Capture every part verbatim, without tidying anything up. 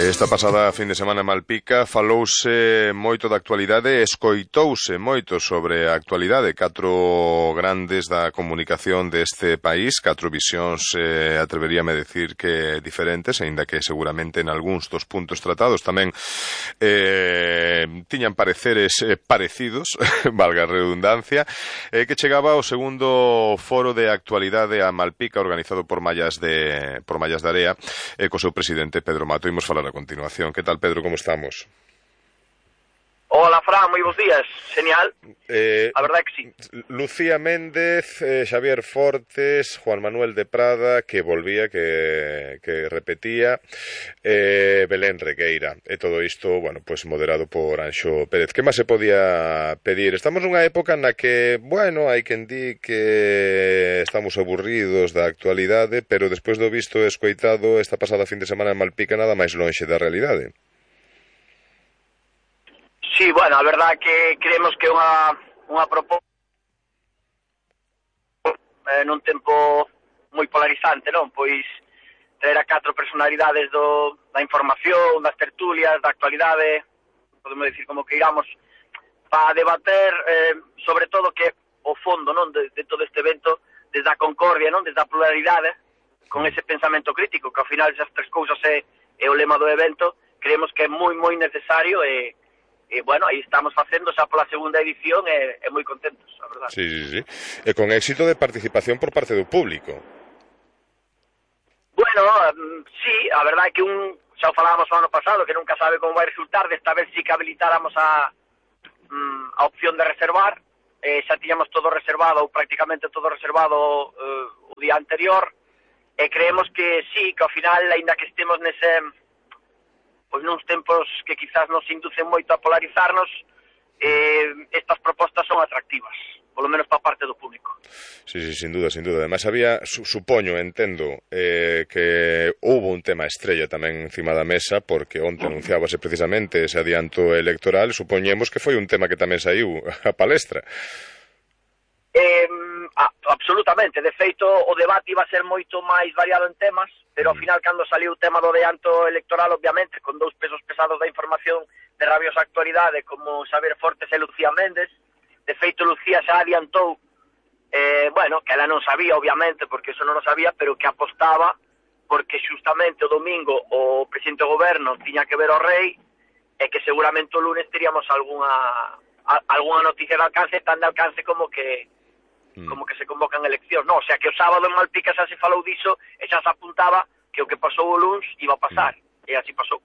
Esta pasada fin de semana en Malpica falouse moito da actualidade, escoitouse moito sobre a actualidade. Catro grandes da comunicación deste país, catro visións, eh, atreveríame a decir que diferentes, aínda que seguramente en algúns dos puntos tratados tamén eh, tiñan pareceres eh, parecidos, valga a redundancia, eh, que chegaba o segundo foro de actualidade a Malpica organizado por Mallas de, por Mallas de Area, eh, co seu presidente Pedro Mato. Imos falar a continuación. Que tal, Pedro, como estamos? Hola, Fran, moi bons días. Genial. Eh, a verdade que sí. Lucía Méndez, eh, Xavier Fortes, Juan Manuel de Prada, que volvía, que, que repetía, eh, Belén Regueira. E todo isto, bueno, pues moderado por Anxo Pérez. Que máis se podía pedir? Estamos nunha época na que, bueno, hai quen di que estamos aburridos da actualidade, pero despois do visto e escoitado esta pasada fin de semana en Malpica, nada máis lonxe da realidade. Sí, bueno, a verdade que creemos que é unha, unha proposta eh, nun tempo moi polarizante, non? Pois traer a catro personalidades do, da información, das tertulias, da actualidade, podemos decir como que iramos, para debater eh, sobre todo que o fondo, non, de, de todo este evento, desde a concordia, non, desde a pluralidade, con ese pensamento crítico, que ao final esas tres cousas é, é o lema do evento, creemos que é moi, moi necesario e E, bueno, aí estamos facendo xa pola segunda edición e, e moi contentos, a verdade. Sí, sí, sí. E con éxito de participación por parte do público. Bueno, um, sí, a verdade é que un, xa o falábamos o ano pasado, que nunca sabe como vai resultar, desta vez sí que habilitáramos a, um, a opción de reservar, eh, xa tiñamos todo reservado, ou prácticamente todo reservado uh, o día anterior, e creemos que sí, que ao final, aínda que estemos nese... pois nuns tempos que quizás nos inducen moito a polarizarnos, eh, estas propostas son atractivas, polo menos para parte do público. Sí, sí, sin duda, sin duda. Además había, su, supoño, entendo, eh, que houve un tema estrella tamén encima da mesa, porque onte anunciábase precisamente ese adianto electoral, supoñemos que foi un tema que tamén saiu a palestra. Eh, a, absolutamente, de feito o debate iba a ser moito máis variado en temas, pero ao final cando saliu o tema do adianto electoral, obviamente, con dous pesos pesados da información de rabiosa actualidade como Xavier Fortes e Lucía Méndez, de feito Lucía xa adiantou, eh, bueno, que ela non sabía, obviamente, porque eso non o sabía, pero que apostaba porque xustamente o domingo o presidente do goberno tiña que ver o rei e que seguramente o lunes teríamos algunha, a, algunha noticia de alcance, tan de alcance como que como que se convocan eleccións, non, o sea que o sábado en Malpica xa se falou diso e xa se apuntaba que o que pasou o luns iba a pasar, mm. e así pasou.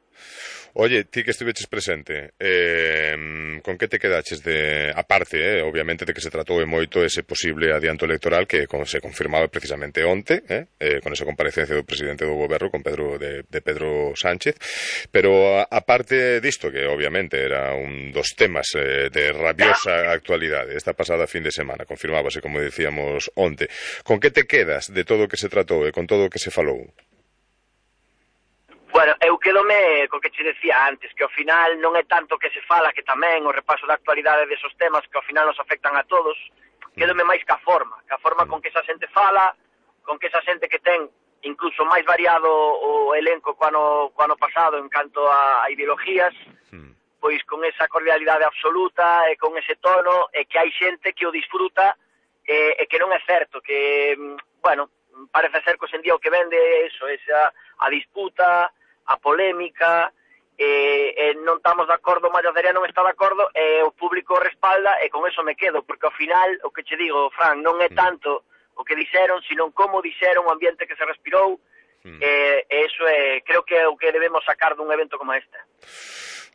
Oye, ti que estiveches presente, eh, con que te quedaches de, aparte, eh, obviamente, de que se tratou e moito ese posible adianto electoral que con, se confirmaba precisamente onte, eh, eh, con esa comparecencia do presidente do goberno, con Pedro de, de Pedro Sánchez, pero aparte disto, que obviamente era un dos temas eh, de rabiosa actualidade, esta pasada fin de semana, confirmábase, como decíamos, onte, con que te quedas de todo o que se tratou e con todo o que se falou? Bueno, eu quedome co que che decía antes, que ao final non é tanto que se fala, que tamén o repaso da actualidade desos temas que ao final nos afectan a todos, quedome máis ca forma, ca forma con que esa xente fala, con que esa xente que ten incluso máis variado o elenco co ano, co ano pasado en canto a, a ideologías, pois con esa cordialidade absoluta e con ese tono, e que hai xente que o disfruta e, e que non é certo, que, bueno, parece ser que hoxe en día o que vende é eso, esa a disputa, a polémica, e, e non estamos de acordo, Mallas de Area non está de acordo, e o público respalda, e con eso me quedo, porque ao final, o que che digo, Fran, non é tanto o que dixeron, sino como dixeron, o ambiente que se respirou, mm. e, e eso é, creo que é o que debemos sacar dun evento como este.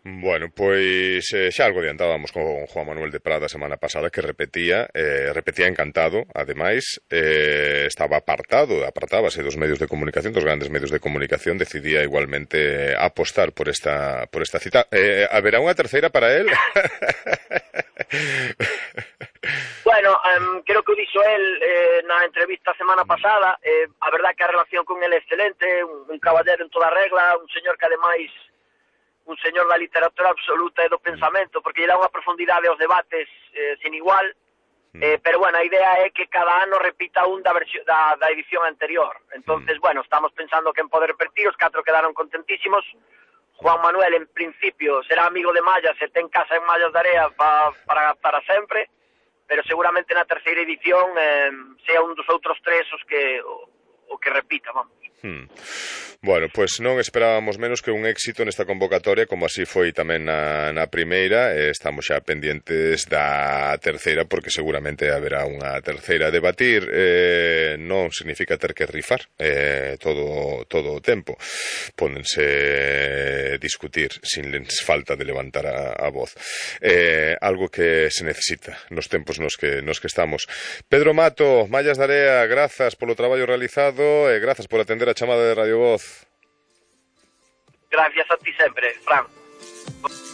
Bueno, pois eh, xa algo adiantábamos con Juan Manuel de Prada a semana pasada, que repetía, eh, repetía encantado, ademais, eh, estaba apartado, apartábase dos medios de comunicación, dos grandes medios de comunicación, decidía igualmente apostar por esta por esta cita. Eh, haberá unha terceira para él? Bueno, um, creo que o dixo el eh, na entrevista a semana pasada, eh, a verdad que a relación con el é excelente, un, un caballero en toda regla, un señor que ademais un señor da literatura absoluta e do pensamento, porque lle dá unha profundidade aos debates eh, sin igual, eh, pero bueno, a idea é que cada ano repita un da, versión, da, da edición anterior. Entonces, bueno, estamos pensando que en poder repetir, os catro quedaron contentísimos. Juan Manuel, en principio, será amigo de Mallas e ten casa en Mallas de Area pa, para, para sempre, pero seguramente na terceira edición eh, sea un dos outros tres os que o, o que repita, vamos. Hmm. Bueno, pois pues non esperábamos menos que un éxito nesta convocatoria, como así foi tamén na, na primeira. eh, estamos xa pendientes da terceira, porque seguramente haberá unha terceira a debatir. eh, non significa ter que rifar eh, todo, todo o tempo, pódense discutir sin falta de levantar a, a voz, eh, algo que se necesita nos tempos nos que, nos que estamos. Pedro Mato, Mallas de Area, grazas polo traballo realizado e grazas por atender a chamada de Radio Voz. Gracias a ti sempre, Fran.